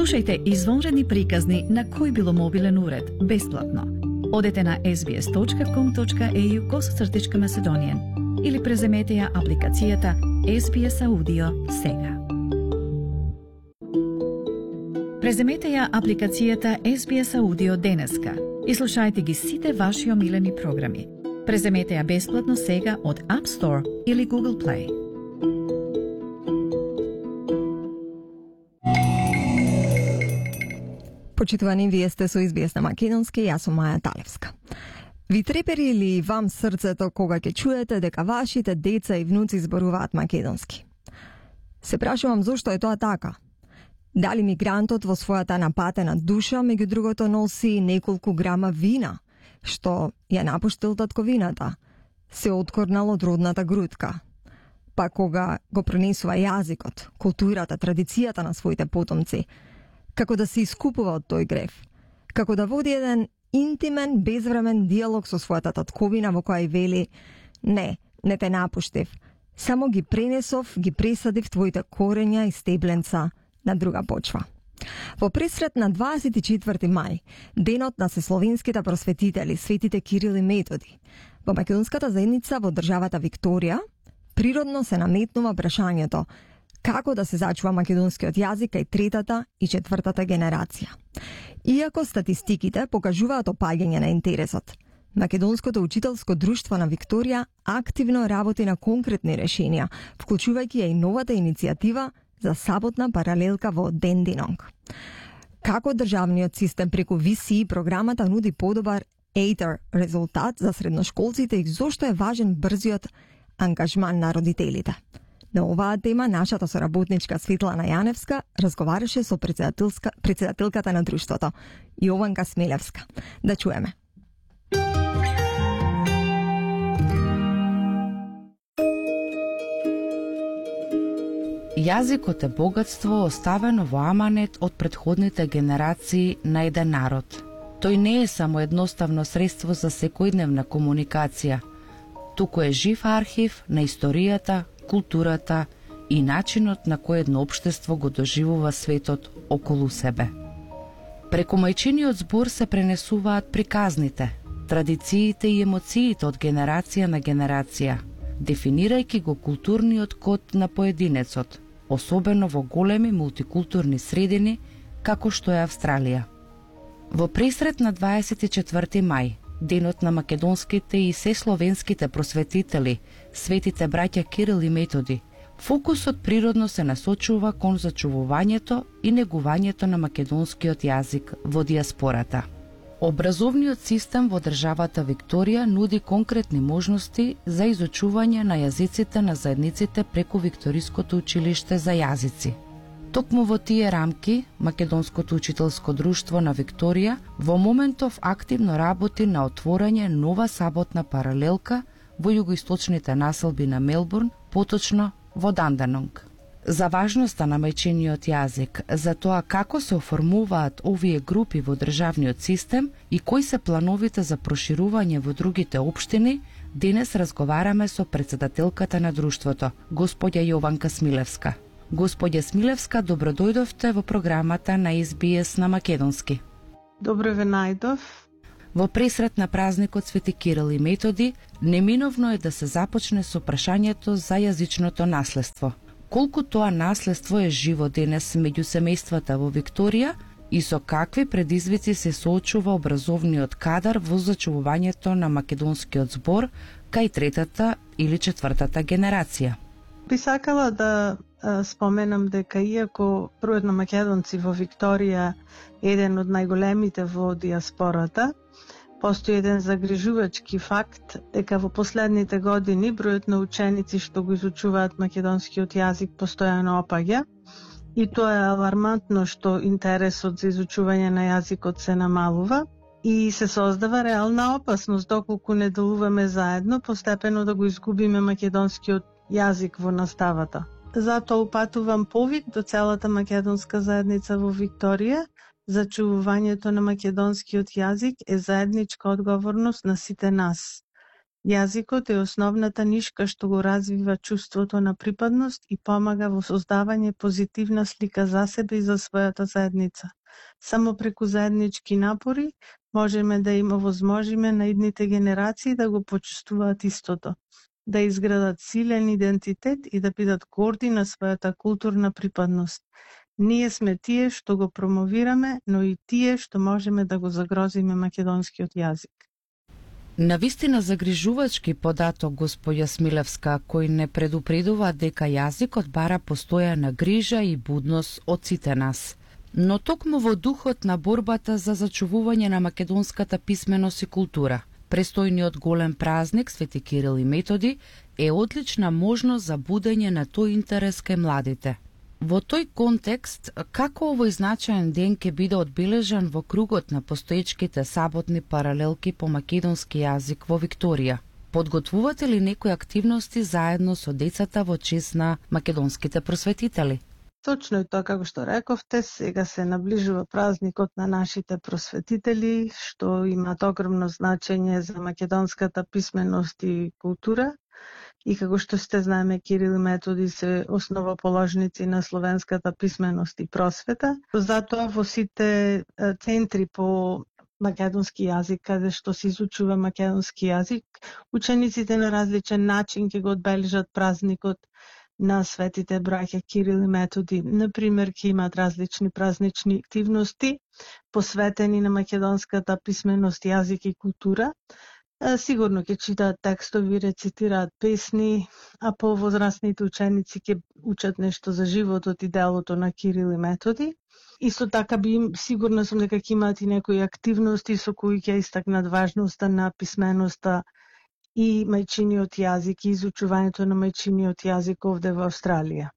Слушајте извонредни приказни на кој било мобилен уред, бесплатно. Одете на sbs.com.au/Macedonian или преземете ја апликацијата SBS Audio сега. Преземете ја апликацијата SBS Audio денеска и слушајте ги сите ваши омилени програми. Преземете ја бесплатно сега од App Store или Google Play. Почитувани, вие сте со SBS на македонски, јас сум Маја Талевска. Ви трепери ли вам срцето кога ќе чуете дека вашите деца и внуци зборуваат македонски? Се прашувам зошто е тоа така? Дали мигрантот во својата напатена душа, меѓу другото, носи неколку грама вина, што ја напуштил татковината, се откорнал од родната грудка? Па кога го пронесува јазикот, културата, традицијата на своите потомци, како да се искупува од тој грев, како да води еден интимен, безвремен диалог со својата татковина во која и вели: не те напуштив, само ги пренесов, ги пресадив твоите корења и стебленца на друга почва. Во пресрет на 24 мај, денот на сесловенските просветители, светите Кирил и Методи, во македонската заедница во државата Викторија, природно се наметнува прашањето како да се зачува македонскиот јазик кај третата и четвртата генерација. Иако статистиките покажуваат опаѓање на интересот, Македонското учителско друштво на Викторија активно работи на конкретни решенија, вклучувајќи ја и новата иницијатива за саботна паралелка во Дендинонг. Како државниот систем преку VCE програмата нуди подобар EITER резултат за средношколците и зошто е важен брзиот ангажман на родителите? На оваа тема нашата соработничка Светлана Јаневска разговараше со председателката на друштвото, Јованка Смилевска. Да чуеме. Јазикот е богатство оставено во аманет од претходните генерации на еден народ. Тој не е само едноставно средство за секојдневна комуникација, туку е жив архив на историјата, културата и начинот на кој едно општество го доживува светот околу себе. Преку мајчиниот збор се пренесуваат приказните, традициите и емоциите од генерација на генерација, дефинирајќи го културниот код на поединецот, особено во големи мултикултурни средини, како што е Австралија. Во пресрет на 24 мај, денот на македонските и сесловенските просветители, светите браќа Кирил и Методи, фокусот природно се насочува кон зачувувањето и негувањето на македонскиот јазик во диаспората. Образовниот систем во државата Викторија нуди конкретни можности за изучување на јазиците на заедниците преку Викториското училиште за јазици. Токму во тие рамки, Македонското учителско друштво на Викторија во моментов активно работи на отворање нова саботна паралелка во југоисточните населби на Мелбурн, поточно во Данданонг. За важноста на мајчиниот јазик, за тоа како се оформуваат овие групи во државниот систем и кои се плановите за проширување во другите општини, денес разговараме со председателката на друштвото, господја Јованка Смилевска. Господја Смилевска, добро дојдовте во програмата на SBS на македонски. Добро ве најдов. Во пресрет на празникот Свети Кирил и Методи, неминовно е да се започне со прашањето за јазичното наследство. Колку тоа наследство е живо денес меѓу семејствата во Викторија и со какви предизвици се соочува образовниот кадар во зачувувањето на македонскиот збор кај третата или четвртата генерација? Би сакала да споменам дека иако бројот на македонци во Викторија е еден од најголемите во диаспората, постои еден загрижувачки факт дека во последните години бројот на ученици што го изучуваат македонскиот јазик постојано опаѓа и тоа е алармантно што интересот за изучување на јазикот се намалува и се создава реална опасност доколку не делуваме заедно постепено да го изгубиме македонскиот јазик во наставата. Затоа упатувам повик до целата македонска заедница во Викторија. Зачувувањето на македонскиот јазик е заедничка одговорност на сите нас. Јазикот е основната нишка што го развива чувството на припадност и помага во создавање позитивна слика за себе и за својата заедница. Само преку заеднички напори можеме да им овозможиме на идните генерации да го почувствуваат истото, да изградат силен идентитет и да бидат горди на својата културна припадност. Ние сме тие што го промовираме, но и тие што можеме да го загрозиме македонскиот јазик. Навистина загрижувачки податок, госпоѓа Смилевска, кој не предупредува дека јазикот бара постојана грижа и будност од сите нас. Но токму во духот на борбата за зачувување на македонската писменост и култура, престојниот голем празник Свети Кирил и Методи е одлична можност за будење на тој интерес кај младите. Во тој контекст, како овој значаен ден ќе биде одбележан во кругот на постоечките саботни паралелки по македонски јазик во Викторија? Подготвувате ли некои активности заедно со децата во чест на македонските просветители? Точно е тоа како што рековте, сега се наближува празникот на нашите просветители, што имаат огромно значење за македонската писменост и култура. И како што сте знаеме, Кирил и Методи се основоположници на словенската писменост и просвета. Затоа во сите центри по македонски јазик, каде што се изучува македонски јазик, учениците на различен начин ќе го одбележат празникот на светите браќа Кирил и Методи. Например, ќе имаат различни празнични активности посветени на македонската писменост, јазик и култура. Сигурно ќе читаат текстови, рецитираат песни, а повозрастните ученици ќе учат нешто за животот и делото на Кирил и Методи. Исто така сигурна сум дека ќе имаат и некои активности со кои ќе истакнат важноста на писменоста и мајчиниот јазик и изучувањето на мајчиниот јазик овде во Австралија.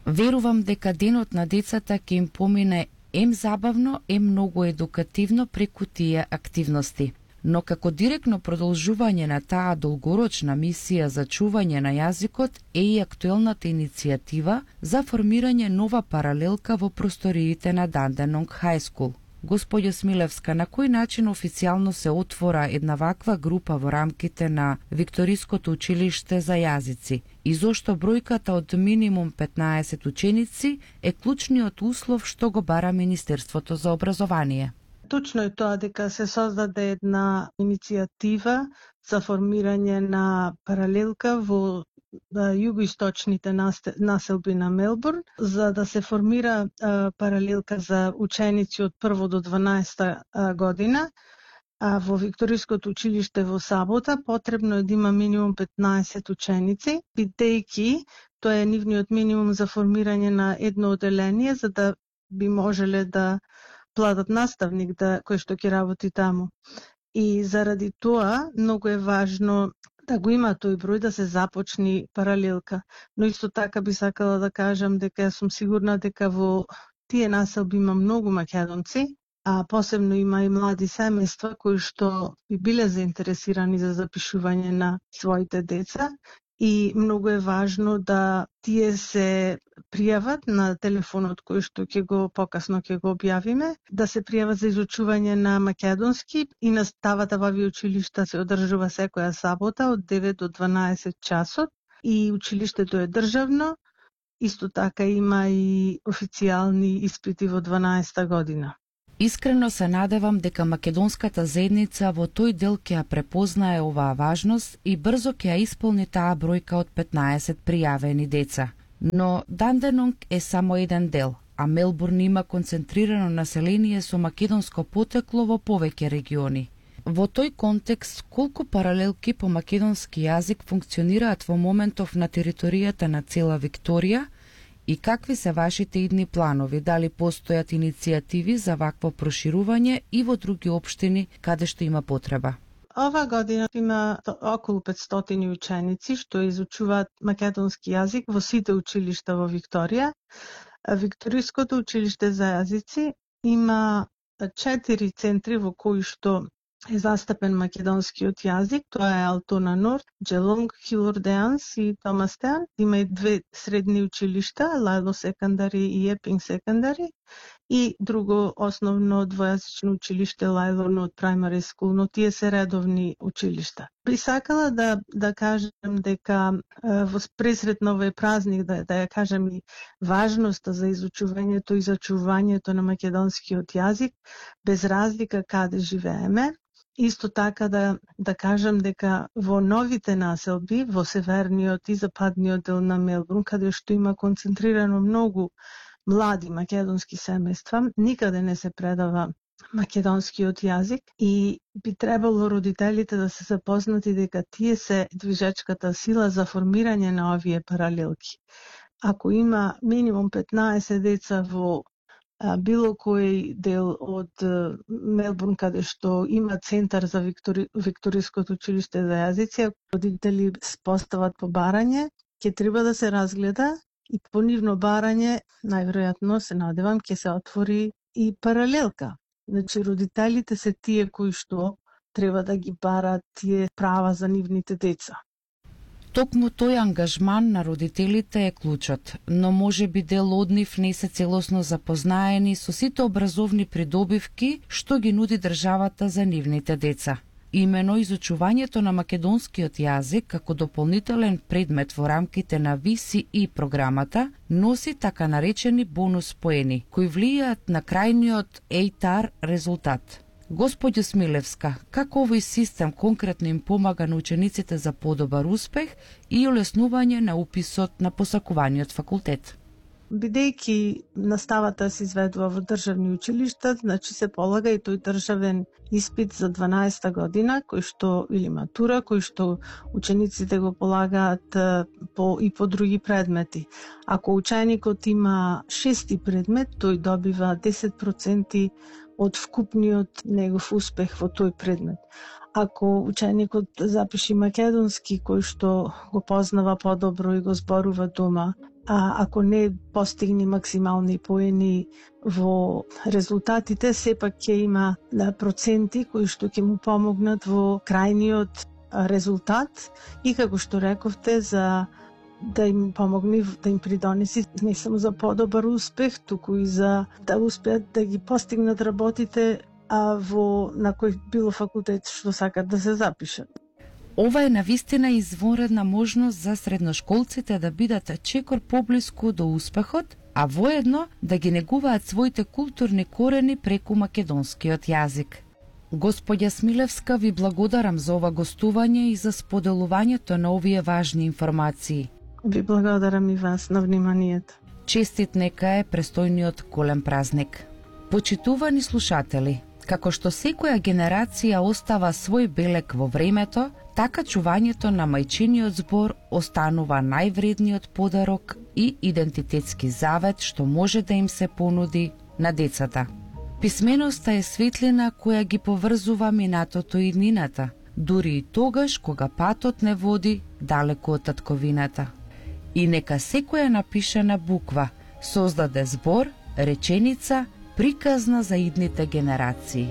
Верувам дека денот на децата ќе им помине забавно, многу едукативно преку тие активности. Но како директно продолжување на таа долгорочна мисија за чување на јазикот е и актуелната иницијатива за формирање нова паралелка во просториите на Dandenong High School. Господја Смилевска, на кој начин официјално се отвора една ваква група во рамките на Викториското училиште за јазици и зошто бројката од минимум 15 ученици е клучниот услов што го бара Министерството за образование? Точно е тоа дека се создаде една иницијатива за формирање на паралелка во југоисточните населби на Мелбурн, за да се формира паралелка за ученици од 1 до 12 година. А во Викториското училиште во Сабота потребно е да има минимум 15 ученици, бидејќи тоа е нивниот минимум за формирање на едно оделение, за да би можеле да платат наставник кој што ќе работи таму. И заради тоа многу е важно да го има тој број, да се започни паралелка. Но исто така би сакала да кажам дека сум сигурна дека во тие населби има многу македонци, а посебно има и млади семејства кои што би биле заинтересирани за запишување на своите деца. И многу е важно да тие се пријават на телефонот кој што покасно ќе го објавиме, да се пријават за изучување на македонски и наставата во овие училишта се одржува секоја сабота од 9 до 12 часот и училиштето е државно, исто така има и официјални испити во 12 година. Искрено се надевам дека македонската заедница во тој дел ќе ја препознае оваа важност и брзо ќе ја исполни таа бројка од 15 пријавени деца. Но Dandenong е само еден дел, а Мелбурн има концентрирано население со македонско потекло во повеќе региони. Во тој контекст, колку паралелки по македонски јазик функционираат во моментов на територијата на цела Викторија и какви се вашите идни планови? Дали постојат иницијативи за вакво проширување и во други општини каде што има потреба? Ова година има околу 500 ученици што изучуваат македонски јазик во сите училишта во Викторија. Викториското училиште за јазици има 4 центри во кои што е застапен македонскиот јазик. Тоа е Алтона Норд, Джелонг, Хилордеанс и Томастеан. Има и 2 средни училишта, Лайло секондари и Епинг секондари. и друго основно двојазично училиште Лајлорно од Primary School, но тие се редовни училишта. Би сакала да кажем дека во пресред на овој празник да ја кажем и важноста за изучувањето и зачувањето на македонскиот јазик без разлика каде живееме. Исто така да кажем дека во новите населби, во северниот и западниот дел на Мелбурн, каде што има концентрирано многу млади македонски семејства, никаде не се предава македонскиот јазик и би требало родителите да се запознати дека тие се движечката сила за формирање на овие паралелки. Ако има минимум 15 деца во било кој дел од Мелбурн каде што има центар за Викториското училиште за јазици, родители постават по барање, ќе треба да се разгледа и по нивно барање, најверојатно се надевам, ќе се отвори и паралелка. Значи, родителите се тие кои што треба да ги барат тие права за нивните деца. Токму тој ангажман на родителите е клучот, но може би дел од нив не се целосно запознаени со сите образовни придобивки што ги нуди државата за нивните деца. Имено изучувањето на македонскиот јазик како дополнителен предмет во рамките на VCE програмата носи така наречени бонус поени, кои влијаат на крајниот ATAR резултат. Господја Смилевска, како овој систем конкретно им помага на учениците за подобар успех и олеснување на уписот на посакуваниот факултет? Бидејќи наставата се изведува во државни училишта, значи се полага и тој државен испит за 12-та година, кој што или матура, кој што учениците го полагаат по други предмети. Ако ученикот има 6-ти предмет, тој добива 10% од вкупниот негов успех во тој предмет. Ако ученикот запиши македонски, кој што го познава подобро и го зборува дома, а ако не постигне максимални поени во резултатите, сепак ќе има проценти кои што ќе му помогнат во крајниот резултат и како што рековте за да им помогне да им придонеси не само за подобар успех, туку и за да успеат да ги постигнат работите на кој било факултет што сакат да се запишат. Ова е навистина извонредна можност за средношколците да бидат чекор поблиску до успехот, а воедно да ги негуваат своите културни корени преку македонскиот јазик. Господја Смилевска, ви благодарам за ова гостување и за споделувањето на овие важни информации. Ви благодарам и вас на вниманието. Честит нека е престојниот голем празник. Почитувани слушатели, како што секоја генерација остава свој белек во времето, така чувањето на мајчиниот збор останува највредниот подарок и идентитетски завет што може да им се понуди на децата. Писменоста е светлина која ги поврзува минатото и иднината, дури и тогаш кога патот не води далеку од татковината. И нека секоја напишана буква создаде збор, реченица, приказна за идните генерации.